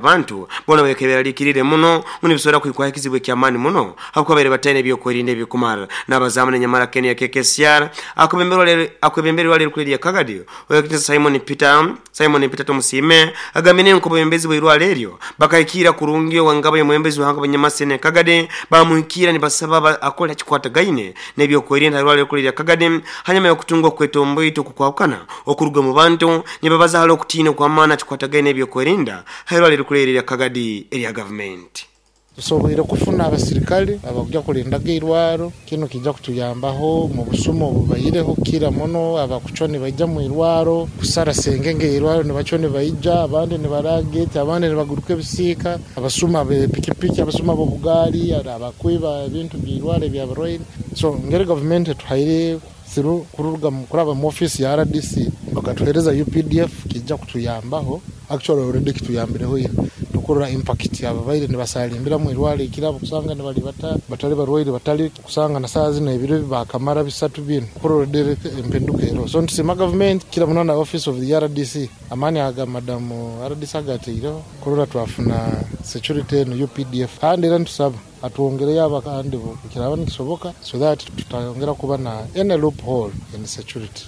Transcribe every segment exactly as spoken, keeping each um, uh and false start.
Abantu bona bekeberarikirire muno munibisobola kwikwaho ekizibu ekyamaani muno habwokuba baire bataine ebyokwerinda ebikumara. N'abazaamu nenyamara Kenya K K C R akwebemberwa lero kuli Kagadi owekitinisa Simon Peter Simon Peter Tomusime agambire nko bwembezi bw'irwaliro eryo bakaikira kurungi wangaba y'omwembezi wahanga banyamasene Kagadi bamuhikira nibasaba akole kikwatagaine n'ebyokwerinda irwaliro kuli Kagadi hanyuma y'okutunga okwetomboito okukwawukana okuruga mu bantu nibabaza hali okutiina kw'amaani kikwatagaine n'ebyokwerinda irwaliro kuli Kagadi erya government. Tusoboire kufuna abasirikale abakuja kulindaga irwaro kino kijja kutuyambaho mu busumo obubaireho kira muno abakuconi baija mu irwaro kusara sengenge irwaro nibaconi baija abandi nibarageti abandi nibaguruka ebisiika abasuma bepikipiki abasuma b'obugaali abakwiba ebintu by'irwaro ebyabarwaire. So ngeri government tuhaire through kuruga kuraba mu office ya R D C bakatuhereza U P D F kijja kutuyambaho actually already kituyambireho kurora impact ababaire nibasalimbira mu irwaro ikirabo kusanga nibali bata batali barwaire batali kusanga na saa zino ebiro bakamara bisatu bino kurora empinduka ero. So ntisima government kila munana office of the R D C amani aga madam R D C agateiro kurora twafuna security no U P D F kandi era ntusaba atuongereyo abakandi kiraba nikisoboka so that tutayongera kuba na any loophole in security.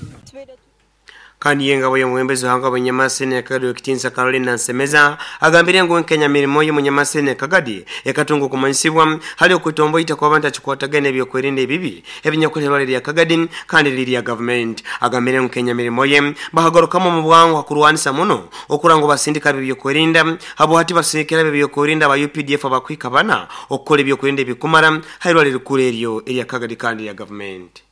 Kandi yengabo y'omwembezi wahanga banyamasene Kagadi okitinsa Carolina Nsemeza agambire ngu Kenya mirimo y'omunyamasene Kagadi ekatunga okumanyisibwa hali okutomboita kwa abantu akikwatagana ebyokwerinda ebibi ebinyakulerwa lya Kagadi kandi lirya government. Agambire ngu Kenya mirimo ye bahagarukamu mu bwangu akurwanisa muno okurango basindika ebyokwerinda habo hati basindikira ebyokwerinda aba U P D F abakwika bana okukola ebyokwerinda ebikumara hairwa lirikuru eryo erya Kagadi kandi ya government.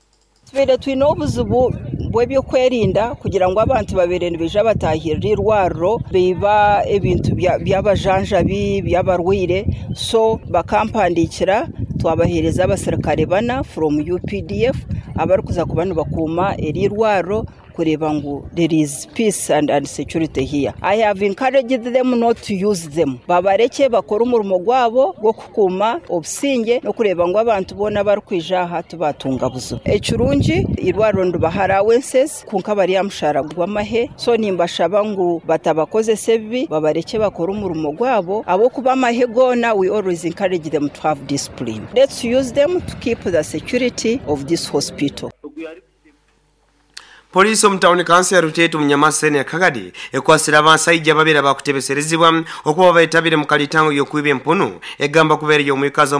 Tubeire twine obuzibu bw'ebyokwerinda kugira ngu abantu babere nibaija batahirira irwariro biba ebintu by'abajanjabi by'abarwaire, so bakampandikira twabaheereza abasirikare bana from U P D F abarikuza kuba nibakuuma eri irwariro kureba ngu there is peace and, and security here. I have encouraged them not to use them. Babareke bakora umurimo gwabo gw'okukuuma obusinge n'okureba ngu abantu boona barikwija aha tubatunga buzibu. Ekirungi irwariro nibaha allowances kunka bari amushara gw'amahe, so nimbashaba ngu batabakozesa ebibi babareke bakora umurimo gwabo abokuba amahe gona. We always encourage them to have discipline. Let's use them to keep the security of this hospital. Polisi omutawuni kansi ya Rutetu munyamasene Kagadi ekwasira abasajja babiri abakutebeserezibwa okuba bayitabire mu kalitango y'okwiba empunu egamba kubeera y'omwikazi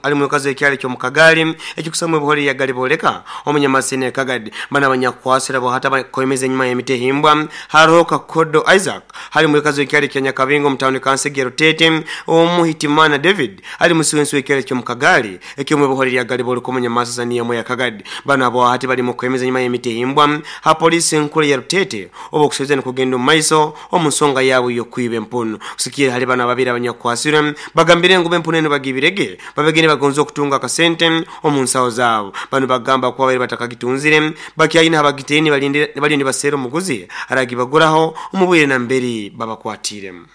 ali mwikazi ekyalo ky'omukagali ekikusamwe buholi ya Galiboleka omunyamasene Kagadi. Bana abanyakwasira bo hata bakomeza enyuma y'emitehimbwa hariho Kakodo Isaac hali mwikazi ekyalo kya Nyakabingo omutawuni kansi ya Rutete omuhitimana David ali musiwensi w'ekyalo ky'omukagali ekyomwe buholi ya Galiboleka omunyamasene ya Kagadi. Bana abo hati bali mu kwemeza enyuma y'emitehimbwa ha polisi nkuru ya Rutete oba okusooza nikugenda omu maiso omu nsonga yaabwe y'okwiba empunu. Kusikira hali bana babiri abanyakwasire bagambire ngu empunu eno bagibirege babegene bagonza okutunga akasente omu nsawo zaabo. Bano bagamba kuba bari batakagitunzire bakyayina abagiteeni baliyo nibaseera omuguzi aragibaguraho omu bwire namberi babakwatiremu.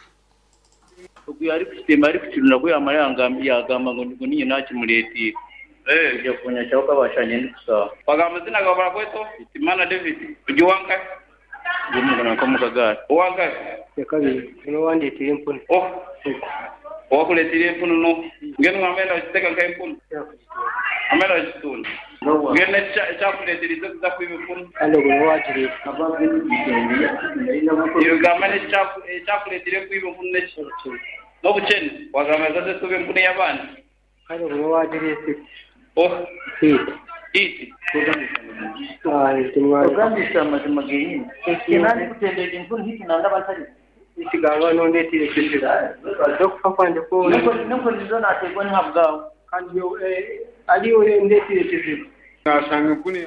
Ogu ari kukitemba ari kukirunda ku yamara yagamba ngu ninye nakimuleetire. Eh, jakunya chauka bashanye ndikusa. Bagamba zina gabara kweto, Timana David. Ujiwanka? Ndimu kana kwa mukagari. Uwanka? Yakabiri. No wandetire empunu. Oh. Wakuletire empunu no. Ngeno ngamenda chiteka nka empunu. Amenda chitunda. Ngeno cha kuletire za kuiba empunu. Alo go wajire. Iyo gamane cha cha kuletire kuiba empunu nechi. No bucheni wagamba zaze tube empunu y'abandi. Alo go wajire. Oh, Iti. Iti. Ogambisa amazima genyini. Kenani kutendeka empunu hiki nanga batali. Isigaba nondetire kizibu. Okufa kwanje ko Nuko nizo nategwa ntabwawe. Kandi aliyo ndetire kizibu. Nasanga empunu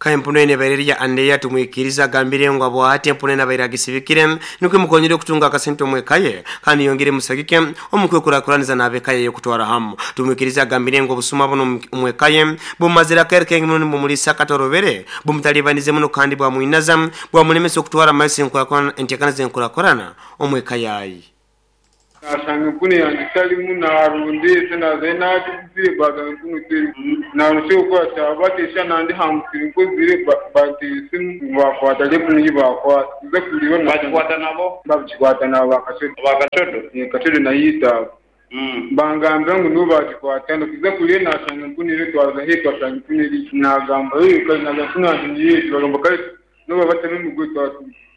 Ka empunu ene bairerya andeya tumwikiriza agambire ngu abwahati empunu ene abaire agisibikire nikwo emukonyere okutunga akasente omwekaye kandi yongere musagike omukwekurakuraniza n'abekaye yokutwara hamu. Tumwikiriza agambire ngu obusuma buno omwekaye bumazire akaire kengi muno nibumulisa akatorobere bumutalibanize muno kandi bwamwinaza bwamulemesa okutwara amaiso entekana zenkurakurana omwekaye ayi. Nasanga empunu yange talimu narondese nazayo nagiguzire bagamba empunu terimu naruse okukwata batesha nandi hamusiri nkozire banteera esimu bakwata empunu ei bakwata nza kureba bakikwata nabo bakikwata nabo bakacodo bakacodo kacodo nayo bangambira ngu nibo bakikwata kuza kureba nashanga empunu eri twaza hei twashanga empunu eri nagamba kare nagamba empunu yange niyo bagamba kare nibo batema emigoye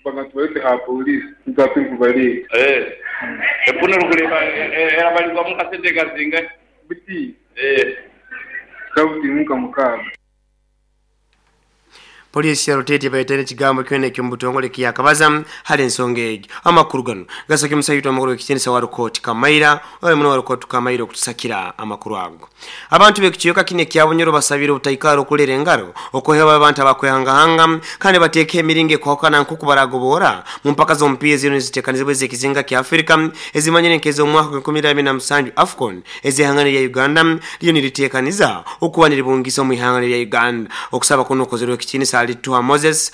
bagamba tubarete ha polisi nitwa kubareta empunu orikureba erabarirwamu kasente kazingahi buti kabutimu nka mukaaga. Polisi ya Rutete baitene ekigambo kyona eky'omubutongole kiyakabaza hali ensonga egyo. Amakuru gano gasake musaitu amakuru ekitiinisa wa Rukoti Kamaira oyo muno wa Rukoti Kamaira okutusakira amakuru ago. Abantu b'ekikiyoka kino ekya Bunyoro basabire obutaikara okulera engaro okuheba abantu abakwehangahanga kandi bateeke emiringo ekwahukana nk'oku baragobora mu mpaka z'omupiira zino eziteekanizibwa ez'ekizinga kya Afrika ezimanyire nk'ez'omwaka gw'enkumi ibiri abiri na musanju AFCON ez'ihanga lya Uganda liyo niriteekaniza okuba niribungisa omu ihanga lya Uganda. Okusaba kuno okozerwe ekitiinisa Alituha Moses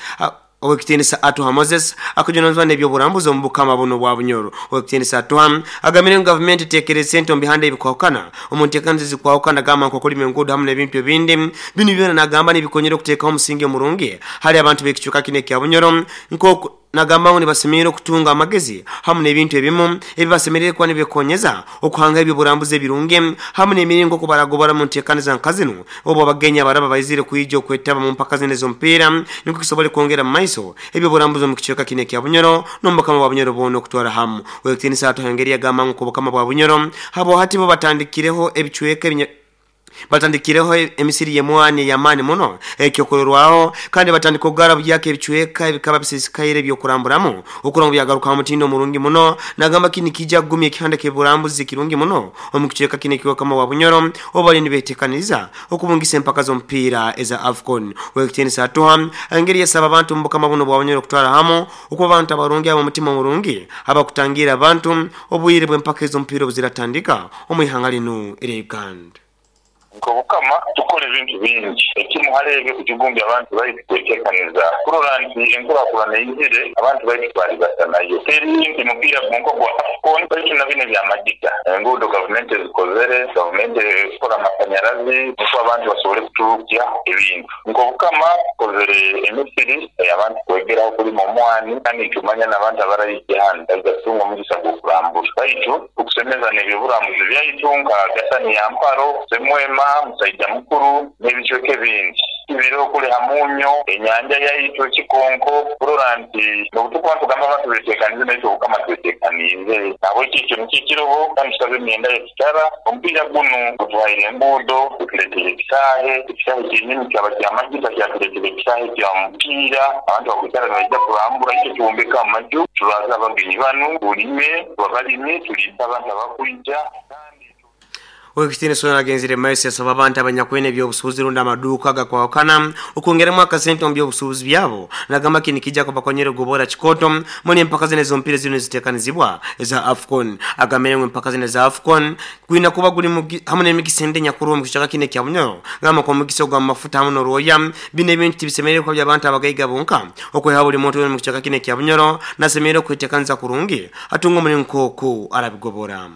owekitiinisa Atuha Moses akujunanizibwa n'ebyoburambuzi omu bukama buno bwa Bunyoro. Owekitiinisa Atuha agamire ngu gavumenti eteekere sente omu bihanda ebikwahukana omu nteekaniza ezikwahukana gamba nk'okulima enguudo hamu n'ebintu ebindi. Binu byona nagamba nibikonyera okuteekaho omusingi omurungi hali abantu b'ekicuka kino ekya Bunyoro nk'oku nagamba ngu nibasemerire okutunga amagezi hamu n'ebintu ebimu ebibasemerire kuba nibikonyeza okuhanga ebyoburambuzi ebirungi hamu n'emiringo okubaragobora mu nteekaniza nka zinu obu abagenyi abaraba baizire kwija okwetaba mu mpaka zino ez'omupiira nikwo kisobole kwongera mu maiso ebyoburambuzi omu kicweka kino ekya Bunyoro n'omubukama bwa Bunyoro bwona okutwara hamu. Owekitiinisa Atuha engeri yagamba ngu obukama bwa Bunyoro habo hati bo batandikireho ebicweka ebinya batandikireho emisiri y'emwani ey'amaani muno ekyokurorwaho kandi batandika okugara bugyaka ebicweka ebikaba bisisikaire ebyokuramburamu okura ngu byagarukaho omutindo omurungi muno. Nagamba kini kijja kugumya ekihanda ky'oburambuzi kirungi muno omu kicweka kino eky'obukama bwa Bunyoro obu bali nibeetekaniza okubungisa empaka z'omupiira eza AFCON. Owekitiinisa Atuha engeri yasaba abantu omu bukama buno bwa Bunyoro okutwara hamu okuba abantu abarungi ab'omutima omurungi abakutangira abantu obwire bw'empaka ez'omupiira obuziratandika omu ihanga linu erya Uganda. Nk'obukama tukora ebintu bingi ekimu hali ebyo kujugumbya abantu baitu kwetekaniza kurora nti enkurakurana eyizire abantu baitu twalibasa nayo teri nti mupiira gunko gwa AFCON baitu na bino ebyamagita enguudo gavumenti ezikozere gavumenti ekora amasanyarazi nikwo abantu basobole kuturukya ebintu. Nk'obukama tukozere emisiri abantu kwegeraho kulima omwani kandi nitumanya n'abantu abaraija hanu baija kutunga omugisa gw'okurambura baitu okusemeza n'ebyoburambuzi byaitu nka Gasani ya Mparo, Semwema, Musaija Mukuru n'ebicweka ebindi biro okuleha munyo enyanja yaitu ekikonko kurora nti n'obutukuba tugamba abantu beteekanize naitwe obukama tweteekaniize nabwekyo ekyo nikyo ekiroho kandi tusabe emyenda yekitara omupiira gunu gutuhaire enguudo gutuleetera ekisaahe ekisaahe kyenyini kyaba kyamagita kyatuleetera ekisaahe kya mupiira abantu bakwikara nibaija kurambura ekyo twombeka amaju turaza abagenyi banu tulime tubabalime tuliise abantu abakwija. Owekitiinisa ono agenzire maiso yasaba abantu abanyakwine ebyobusuubuzi rundi amaduuka agakwahukana okwongeremu akasente omu byobusuubuzi byabo. Nagamba kini kijja kubakonyera okugobora kikoto muni empaka zino ez'omupiira zino eziteekanizibwa eza AFCON. Agambire ngu empaka zino eza AFCON gwina kuba guli hamu n'emigisa endi enyakuru omu kicweka kino ekya Bunyoro gamba nk'omugisa ogw'amafuta hamu n'orwoya. Bino ebintu tibisemerire kuba by'abantu abagaiga bonka okweha buli muntu wena omu kicweka kino ekya Bunyoro nasemerire okweteekaniza kurungi atunga omulingo nk'oku arabigobora.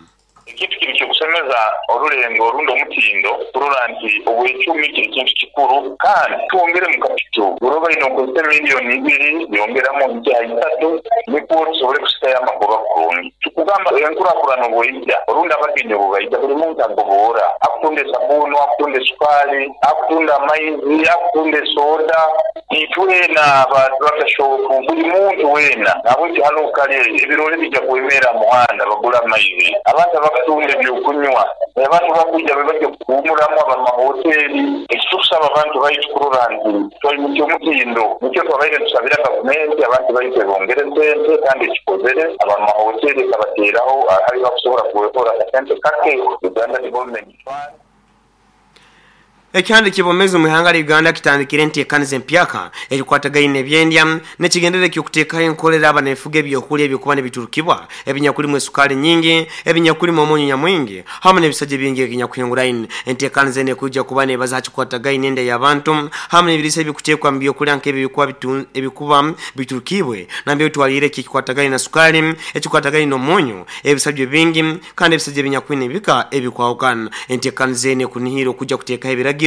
Ekintu kiri kyokusemeza orulengo orundi omutindo kurora nti obwecumi kiri kintu kikuru kandi twongere mu kapito uroba ino okozesa miliyoni ibiri yongeramu nkya isatu nikwo tusobole kusitayo amagoba kurungi. Tukugamba enkurakurana obweija orundi abagenyi obubaija buli muntu agoboora akutunda esabuunu akutunda esukali akutunda amaizi akutunda esoda itwena batashopu buli muntu wena nabwekyo hano kale ebirole bijja kwemera muhanda bagula amaizi abantu abakutunga ebyokunywa abantu bakwija bebajja kuwumulamu abamahoteri. Ekitukusaba abantu baitu kurora nti twali omutindo nikyo twabaire tusabira gavumenti abantu baitu ebongere sente kandi ekikozere abamahoteri kabateeraho ahali bakusobola kuwekora akasente kake Uganda Development Fund. Ekyandi kibomezi mu ihanga lya Uganda kitandikire enteekaniza empyaka ebikwatagaine ebyendya n'ekigenderere ky'okuteekaho enkolera abanefuga ebyokulya ebyokuba nibiturukibwa ebinyakulimu esukali nyingi, ebinyakulimu omunyu nyamwingi hamwe n'ebisajja bingi ebinyakuhinguraine. Enteekaniza eno ekujja kuba neebaza ha kikwatagaine enda y'abantu hamwe n'ebiriisa ebikuteekwa mu byokulya nk'ebyo ebikuba bitu- ebikuba biturukibwe nambere otwaliire eki ekikwatagaine na sukali, ekikwatagaine n'omunyu, ebisajja bingi kandi ebisajja ebinyakwine ebika ebikwahukana. Enteekaniza eno ekunihira okujja kuteekaho ebiragiro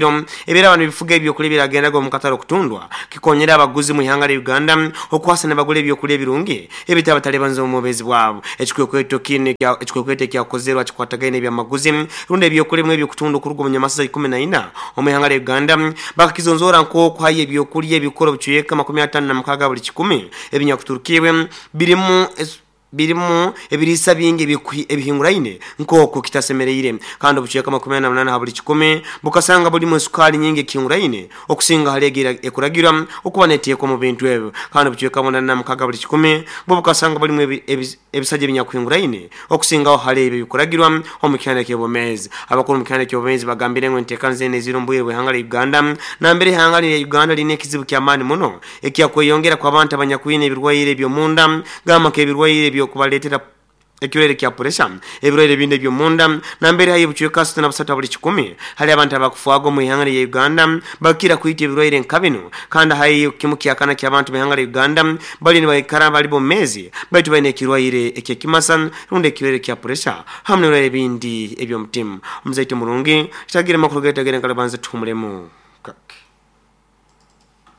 ebera abantu bifuga ebyokulya biragendaga omu katale okutundwa kikonyera abaguzi mu ihanga lya Uganda okwasa ne bagula ebyokulya ebirungi ebitabatalibanza omu bwezi bwabo. Ekikwekweto kino ekya- ekikwekweto ekyakozerwa kikwatagaine ebyamaguzi rundi ebyokulya ebimwe ebyokutundwa okuruga omu nyamasaza ikumi na ina omu ihanga lya Uganda bakakizonzora nk'okuhayo ebyokulya ebikora obucweka makumi ataano na mukaaga buli kikumi ebinyakuturukibwe birimu es- birimu ebiriisa bingi ebikwi- ebihinguraine nk'oku kitasemereire kandi obucweka makumi ana na munana ha buli kikumi bukasanga bulimu esukali nyingi ekihinguraine okusinga hali egira ekuragirwa okuba neteekwa mu bintu ebyo kandi obucweka munana na mukaaga buli kikumi bwo bukasanga bulimu ebi- ebi- ebisajja ebinyakuhinguraine okusingaho hali ebyo ebikuragirwa omu kyanda ky'obwomeezi. Abakuru mu kyanda ky'obwomeezi bagambire ngu enteekaniza eno eziri omu bwire bw'ihanga lya Uganda nambere ihanga lya Uganda lirina ekizibu ky'amaani muno ekyakweyongera kw'abantu abanyakwine ebirwaire eby'omunda gamba nk'ebirwaire ebyokubaleetera ekirwaire kya puresha, ebirwaire ebindi eby'omunda nambere hayo obucweka asatu na busatu buli kikumi hali abantu abakufwaga omu ihanga lya Uganda bakira kwita ebirwaire nka bino kandi hayo kimu kyakana ky'abantu b'ihanga lya Uganda bali nibaikara bali bomezi baitu balina ekirwaire ekyekimasa rundi ekirwaire kya puresha hamwe n'ebirwaire ebindi eby'omutima. Omuzaite murungi kitagire amakuru getagire nkalabanza tuhumulemu kake.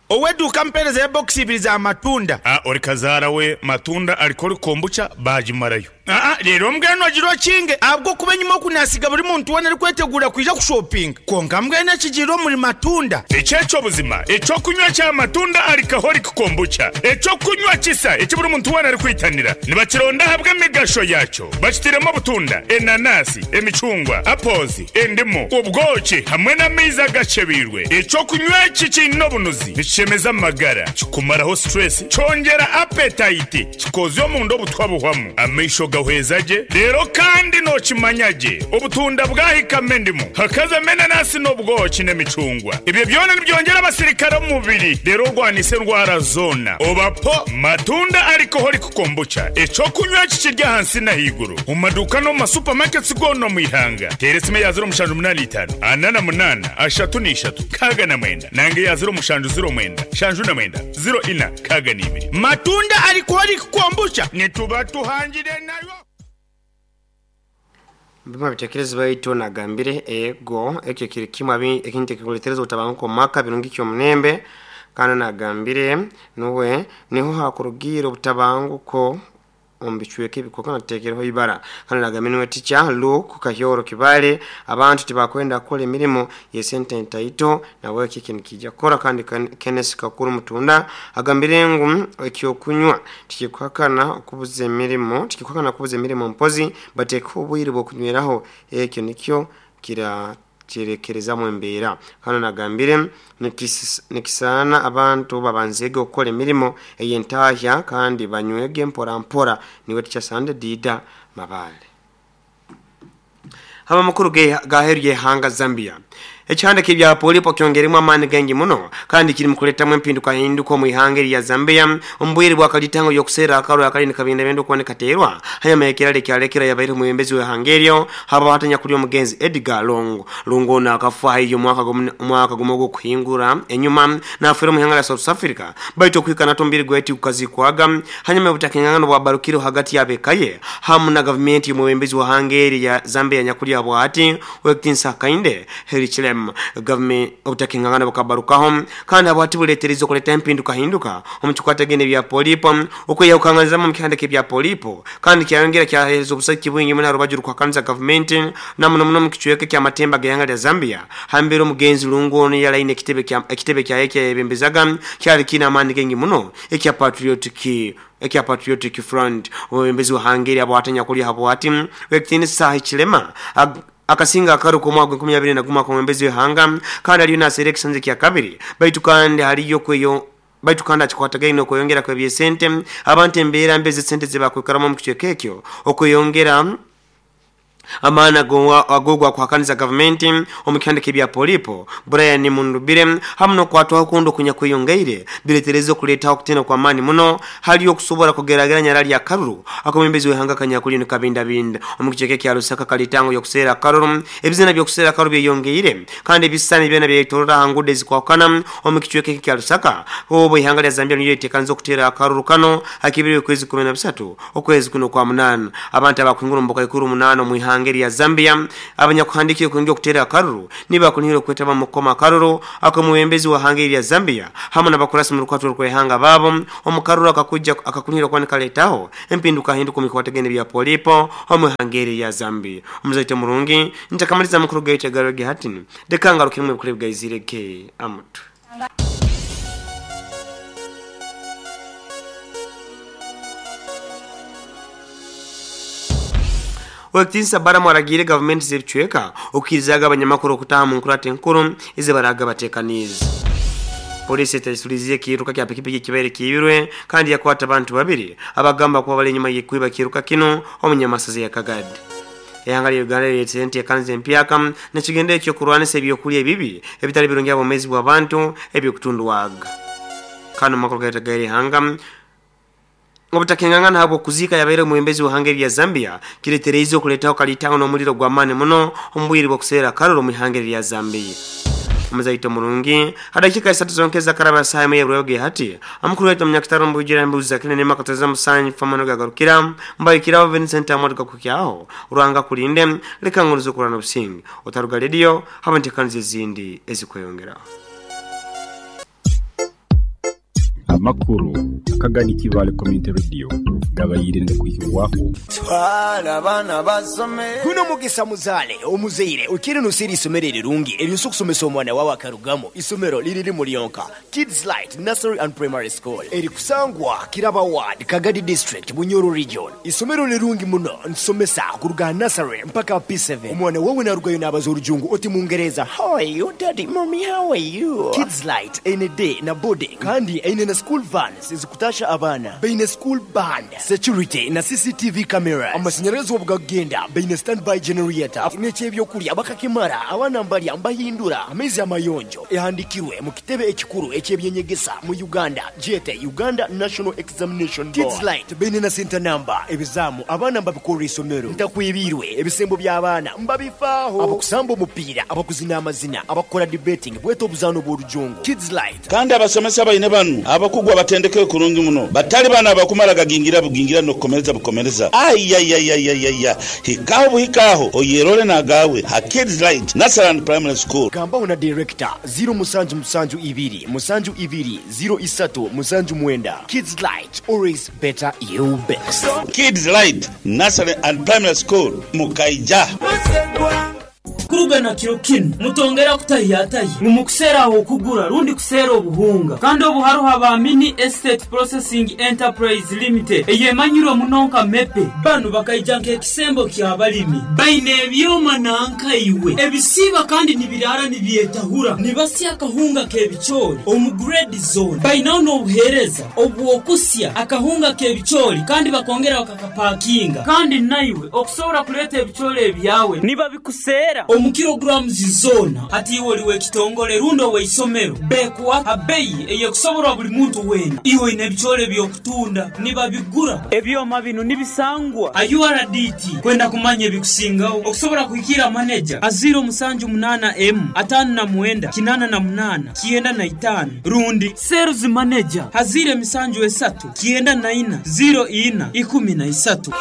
Oweduka mpereza ya box ibiri za matunda. Ah, ori kazaara we matunda aliko kombucha bagimarayo. Ah, ah, rero mbwenu ogira okinge ahabwo kuba enyuma okunasiga buri muntu wena arikwetegura kwija kushopinga konka mbwenu ekigirire omuri matunda. Ekyekyo buzima ekyokunywa kya matunda alcoholic kombucha ekyokunywa kisa eki buri muntu wena arikwitanira nibakironda ahabwa emigasho yakyo bakitiremu obutunda, enanasi, emicungwa, apples, endimu, obwoki hamwe n'amaizi agacebirwe. Ekyokunywa eki kiine obunuzi nikishemeza amagara, kikumaraho stress, kyongera appetite, kikozya omunda obutwa buhwamu, amaisho gahweza gye rero kandi nokimanya gye obutunda bwahikamo endimu hakazamo enanasi n'obwoki n'emicungwa. Ebyo byona nibyongera abasirikare omu mubiri rero orwanisa endwara zona. Obapo matunda alcoholic kombucha ekyokunywa kikirya ahansi n'ahaiguru omu maduuka n'omu masupamaketi goona omu ihanga. Teera esimu eya ziro mushanju munaana itaano ana na munaana ashatu n'ishatu nkaaga na mwenda nange eya ziro mushanju ziro mwenda shanju na mwenda ziro ina nkaaga n'ibiri. Matunda alcoholic kombucha nituba tuhangire nayo. Bima bitekerezo baitu nagambire ego ekyo kiri kimwe abi- ekintu ekikuletereza obutabanguko mu maka birungi ky'omunembe kandi nagambire nuwe niho hakurugiire obutabanguko omu bicweka ebikoka nateekereho ibara kandi nagambire nuwe tica Luke Kahyoro Kibale abantu tibakwenda kukora emirimo yesente ntaito nawe eki kintu kijja kukora kandi Ken- Kenneth Kakuru Mutunda agambire ngu ekyokunywa tikikuhakana okubuza emirimo tikikuhakana okubuza emirimo mpozi bateeka obwire bw'okunyweraho ekyo nikyo kira kirekerezamu embeera kandi nagambire nikis- nikisaana abantu babanzege okukora emirimo ey'entahya kandi banywege mpora mpora niwe tikyasande Dida Mabale. Haba makuru gaheru y'ihanga Zambia. Ekihanda k'ebya polipo kyongeremu amaani gengi muno kandi kiri mu kuletamu empinduka hinduka omu ihanga erya Zambia omu bwire bwakalitango y'okuseera akarwa akali nikabindabinda okuba nikateerwa hanyuma y'ekirala ekyalekera yabaire omwebembezi w'ihanga eryo haba hatanya kuli omugenzi Edgar Lungu. Lungu ono akafa haiyo omwaka gumu- omwaka gumu ogw'okuhingura enyuma n'afiira omu ihanga lya South Africa baitu okuhika nati omubiri gweti gukazikwaga hanyuma y'obutakingangano bwabarukire hagati y'abekaye hamu na gavumenti y'omwebembezi w'ihanga eri ya Zambia nyakuli bwati wekitinsa Hakainde Hichilema. Gavumenti obutakingangano bukabarukaho kandi abwati buletereza okuleta empinduka hinduka omu kikwatagene bya polipo okweyawukanganizamu mu kihandiko ebya polipo kandi kyayongera kyahereza obusaki bwingi muno rubaju rukuhakanisa gavumenti namuno muno mu kicweka ky'amatemba g'ihanga lya Zambia hambere omugenzi Lungu ono yalaine ekitebe kya ekitebe kyaye kyayebembezaga kyali kiine amaani gengi muno ekya Patriotic ekya Patriotic Front. Omwebembezi wa Hungary abwatanya kuli habwati wekitinisa Hichilema ag- akasinga akaruka omwaka gw'enkumi abiri na gumu akamwembezi w'ihanga kandi aliyo naseera ekisanja kya kabiri baitu kandi haliyo kweyo baitu kandi akikwatagaine okweyongera kw'ebyesente abantu embeera mbi ez'esente zebakwikaramu omu kicweka ekyo okweyongera Amaana agogwa kuhakaniza gavumenti omu kihandiko ebya Polipo Brian Mundubire hamu n'okwatwaho kundi okunyakweyongeire biretereza okuleetaho okutina kw'amaani muno hali okusobola kugerageranya rali akaruru akomwembezi w'ihanga kanyakuli nikabindabinda omu kicweka kya Lusaka kalitango y'okuseera akaruru. Ebizina by'okuseera akaruru byeyongeire kandi ebisisani byona byetorora aha ngudo ezikwahukana omu kicweka kya Lusaka. Obu ihanga lya Zambia niryo liteekaniza okuteera akaruru kano hakibiri okwezi kumi na bisatu okwezi kuno kwa munaana. Abantu abakwingura omu bukaikuru munaana omu ihanga ya Zambia abanyakuhandikiye kuingia okutera akaruru nibakunihira okwetaba mu kukoma akaruru akomwembezi wa hanga ya Zambia hamwe n'abakurasi mu rukwatiro rw'ihanga babo omukaruru akakujja akakunihira kwanika letaho empinduka hinduka mikwategene bya Polipo omu hanga ya Zambia. Omuzaite murungi ntakamaliza mukuru gaite garoge hatini dekanga rukimwe bukule bwizireke amutu. Wekitinsa bara mwaragire government zebicweka okukirizaga abanyamakuru okutaha mu nkurate enkuru ezibaraga batekanize. Polisi etasuliziye kiruka kya pikipiki kibaire kiibirwe kandi yakwata abantu babiri abagamba kuba bali enyuma y'ekwiba kiruka kino omunyamasazi ya Kagadi. Ehanga lya Uganda lyetente ekanze empyaka nekigenda ekyokurwanisa ebyokulya ebibi ebitali birungi abomezi bw'abantu ebyokutundwaga. Kano makuru gaita ihanga obutakengangana habwo kuzika yabaire mwembezi wa hanga ya Zambia kiretereize okuletaho kalitango n'omuliro gwa mane muno omubwiri bw'okuseera karuro mu hanga ya Zambia. Omuzaito murungi hadakika isatu zonkeza karaba saha ya rwege hati amukuru wetu munyakitaro mbujira mbuza kine nema kateza musanyi famano gagarukira mbayikira Vincent Amadu kukyaho uranga kulinde leka nguruzo kurana obusingi otaruga radio habantekanze zindi ezikweyongera. Amakuru akagani Kibale Community Radio gabayirinde kuhirwaho twala bana basome kuno mugisa muzale omuzeire ukiri nusiri isomero rirungi eryo kusomesa omwana wawe akarugamo isomero liriri mulionka Kids Light Nursery and Primary School eri kusangwa Kiraba Ward Kagadi District Bunyoro Region. Isomero lirungi muno nsomesa kuruga nursery mpaka P seven. Omwana wawe narugayo nabaza orujungu oti mungereza how are you daddy mommy how are you. Kids Light ene day na boarding kandi ene na school vans ezikutasha abana baine school band security na C C T V cameras amashanyarazi obugagenda baine standby generator n'ekyebyokulya bakakimara abana mbalya mbahindura amaizi amayonjo ehandikirwe mu kitebe ekikuru ekyebyenyegesa mu Uganda jete Uganda National Examination Board. Kids Light baine na center number ebizamu abana mbabikora isomero ntakwibirwe ebisembo by'abaana mbabifaaho abakusamba omupiira abakuzina amazina abakora debating bweto obuzano bw'orujungu Kids Light. Kandi abasomesa baine banu abakugwa batendeke kurungi muno batali bana abakumara gagingira bugingira no kukomereza bukomereza ayayayayaya hikaho buhikaho oyerole nagawe ha Kids Light Nursery and Primary School. Gambaho na director zero musanju musanju ibiri musanju ibiri zero isatu musanju mwenda. Kids Light always better you best. Kids Light Nursery and Primary School mukaija Kurugana kiro kino mutongera kutayatayi mumukusera aho kugura rundi kusera obuhunga kandi obuharuha ba Mini Estate Processing Enterprise Limited eyemanyirwe munonka mepe banu bakaijanka ekisembo kya balimi baine ebyoma nanka iwe ebisiba kandi nibirara nibyetahura nibasya akahunga kebichori omu grade zone bainaho n'obuhereza obwokusya akahunga kebichori kandi bakongera bakakapakinga kandi naiwe okusobora kuleta ebichori ebyawe niba bikusera omu kilograms zona ati iwe oliwe kitongole rundo weisomero bekuwa abeyi eyekusoborwa buli muntu wena iwe ine ebichore byokutunda niba bigura ebyoma bino nibisangwa a U R D T kwenda kumanya ebikusingaho okusobora kuhikira manager a zero musanju munana M atano na mwenda kinana na munana kienda na itano rundi sales manager hazire misanju esatu kienda na ina zero ina ikumi na isatu.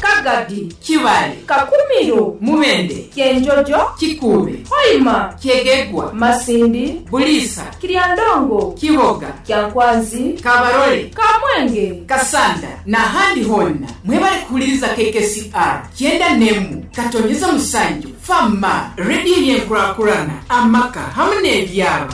Kagadi, Kibale, Kakumiro, Mubende, Kyenjojo, Kikube, Hoima, Kyegegwa, Masindi, Bulisa, Kiryandongo, Kiboga, Kyankwanzi, Kabarole, Kamwenge, Kasanda na handi honna. Mwebale kuhuliriza K K C R kyenda nemu katonyeza musanju fama radio yenkurakurana amaka hamwe n'ebyaro.